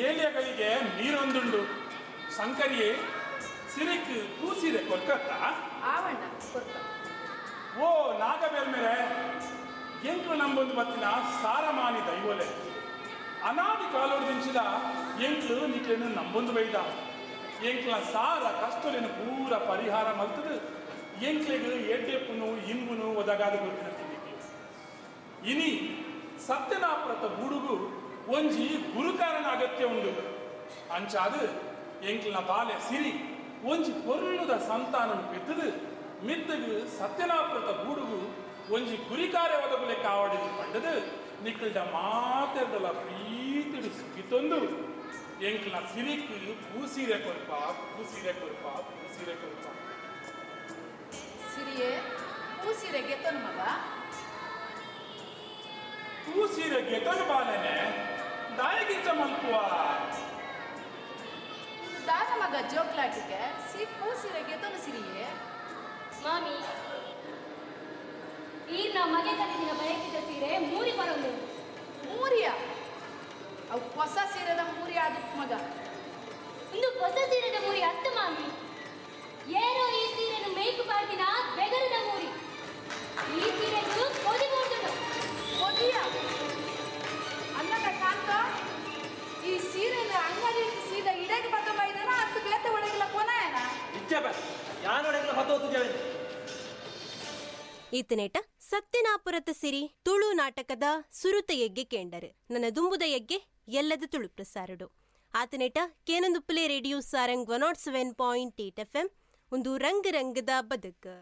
ಏಲಿಯಗಳಿಗೆ ನೀರೊಂದುಂಡು. ಸಂಕರಿಯೇ ಸಿರಿಕ್ ಪೂಸಿರೆ ಕೊಲ್ಕತ್ತಾ ಆವಣ್ಣ ಕೊರ್ಕ. ಓ ನಾಗಬೇಲ್ಮೇರೆ, ಎಂಕ್ಲು ನಂಬೊಂದು ಬತ್ತಿನ ಸಾರಮಾನಿ ದೈವಲೆ ಅನಾದಿ ಕಾಲೋಡು ದಿಂಚಿದ ಎಂಕ್ಲು ನಿಕ್ಲೆನು ನಂಬೊಂದು ಬೈದ. ಎಂಕ್ಲ ಸಾರ ಕಷ್ಟಲೇನು ಪೂರ ಪರಿಹಾರ ಮಲ್ತದು ಎಂಕ್ಲೆಗ್ ಎಡ್ಡೆಪ್ಪುನು ಇಂಬುನು ಒದಗಾದ ಗೊತ್ತಿನ. ಇನಿ ಸತ್ಯನಾಪುರತ ಬೂಡುಗು ಒಂಜಿ ಗುರುಕಾರನ ಅಗತ್ಯ ಉಂಡು. ಅಂಚಾದು ಎಂಕ್ಲನ ಬಾಲೆ ಸಿರಿ ಒಂಜಿ ಪೊರ್ಲುದ ಸಂತಾನನು ಪೆತ್ತದು ಮಿತ್ತಗು ಸತ್ಯನಾಪುರತ ಬೂಡುಗು ಒಂಜಿ ಗುರಿಕಾರ್ಯ ಒದಗುಲೆ ಕಾವಡಿ ಪಂಡದು ನಿಕ್ಕಲ್ಡ ಮಾತೆರ್ದಲ ಪ್ರೀತಿಡು ಸುಗಿತೊಂದು ಎಂಕ್ಲನ ಸಿರಿಕ್ ಪೂಸೀರೆ ಕೊರ್ಪ ಪೂಸೀರೆ ಕೊರ್ಪ ಪೂಸೀರೆ ಕೊರ್ಪ. ಸಿರಿಯೇ ಪೂಸೀರೆ ಗೆತ್ತನು ಮಗ. ಪೂಸೀರೆ ಗೆತನು ಬಾಲೆನೆ ದಾಯಗಿಂಚ ಮಲ್ಪುವ ದಾದ ಮಗ ಜೋಕ್ಲಾಟಿಗೆ ಸಿ ಪೂಸೀರೆ ಗೆತನು ಸಿರಿಯೇ. ಮಾಮಿ, ಈ ನಮ್ಮ ಮಗೆ ಕಲಿದಿನ ಬಯಕಿದ ಸೀರೆ ಮೂರಿ ಬರೋದು. ಮೂರಿಯ? ಅವು ಹೊಸ ಸೀರೆದ ಮೂರಿ ಆದಿತ್ತು ಮಗ. ಒಂದು ಹೊಸ ಸೀರೆದ ಮೂರಿ ಅತ್ತು ಮಾಮಿ. ಏನೋ ಈ ಸೀರೆನು ಮೇಯ್ಕು ಪಾಡ್ದಿನ ಬೆಗರದ ಮೂರಿ. ಈ ಸೀರೆಗೂ ಕೊದಿ ಮೂಡ್ದುಡು. ಕೊದಿಯ? ಅಲ್ಲದ ಕಾಂತ, ಈ ಸೀರೆನ ಅಂಗಡಿ ಸೀದಾ ಇಡಕ್ಕೆ ಬತ್ತೊಂಬೈದನ ಹತ್ತು ಬೇತೆ ಒಳಗಿಲ್ಲ ಕೊನೆಯನ ಇಚ್ಛೆ ಬ ಯಾನೊಳಗಿಲ್ಲ ಹತ್ತೊತ್ತು ಜವೆ. ಈತನೇಟ ಸತ್ಯನಾಪುರತ ಸಿರಿ ತುಳು ನಾಟಕದ ಸುರುತ ಎಗ್ಗೆ ಕೇಂಡರು. ನನ್ನ ದುಂಬುದ ಎಗ್ಗೆ ಎಲ್ಲದ ತುಳು ಪ್ರಸಾರಡು. ಆತನೇಟ ಕೇನಂದುಪ್ಪಲೆ ರೇಡಿಯೋ ಸಾರಂಗ್ 107.8 FM ಒಂದು ರಂಗ ರಂಗದ ಬದುಕು.